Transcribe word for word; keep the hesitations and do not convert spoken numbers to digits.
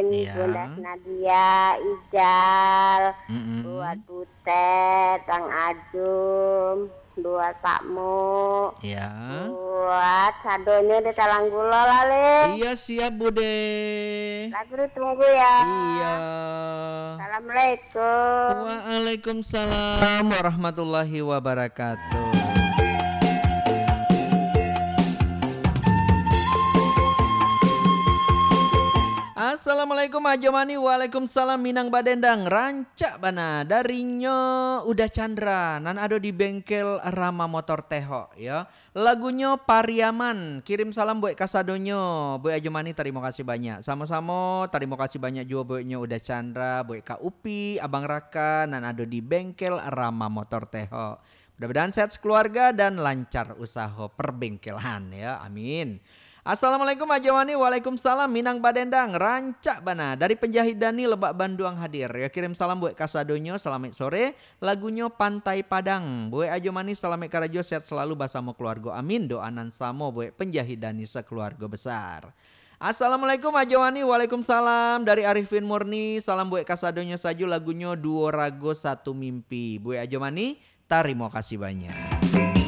Iya. Bunda Nadia, Ijal, Mm-mm. buat Butet, Bang Ajum, buat Pak Mu, Iya. buat sadonyo di Talang Gulo lah, Lin. Iya, siap, Bude. Lagu ditunggu ya. Iya. Assalamualaikum. Waalaikumsalam warahmatullahi wabarakatuh. Assalamualaikum, Ajo Mani. Waalaikumsalam, Minang Badendang. Rancak bana. Darinyo Uda Chandra, nan ado di bengkel Rama Motor Tehok, yo. Lagunyo Pariaman. Kirim salam buek kasadonyo. Buek Ajo Mani, tarimo kasih banyak. Samo-samo, tarimo kasih banyak juo bueknyo Uda Chandra, buek Kak Upi, Abang Raka, nan ado di bengkel Rama Motor Tehok. Mudah-mudahan sehat sekeluarga dan lancar usaho perbengkelan, ya. Amin. Assalamualaikum, Ajo Mani. Waalaikumsalam, Minang Badendang. Rancak bana. Dari Penjahit Dani, Lebak Banduang hadir. Ya, kirim salam buek kasadonyo. Salamaik sore. Lagunyo Pantai Padang. Buek Ajo Mani, salamaik karajo, sehat selalu basamo keluargo. Amin. Doa nan samo buek Penjahit Dani sakeluargo besar. Assalamualaikum, Ajo Mani. Waalaikumsalam. Dari Arifin Murni, salam buek kasadonyo sajo, lagunyo Duo Rago Satu Mimpi. Buek Ajo Mani, tarimo kasih banyak.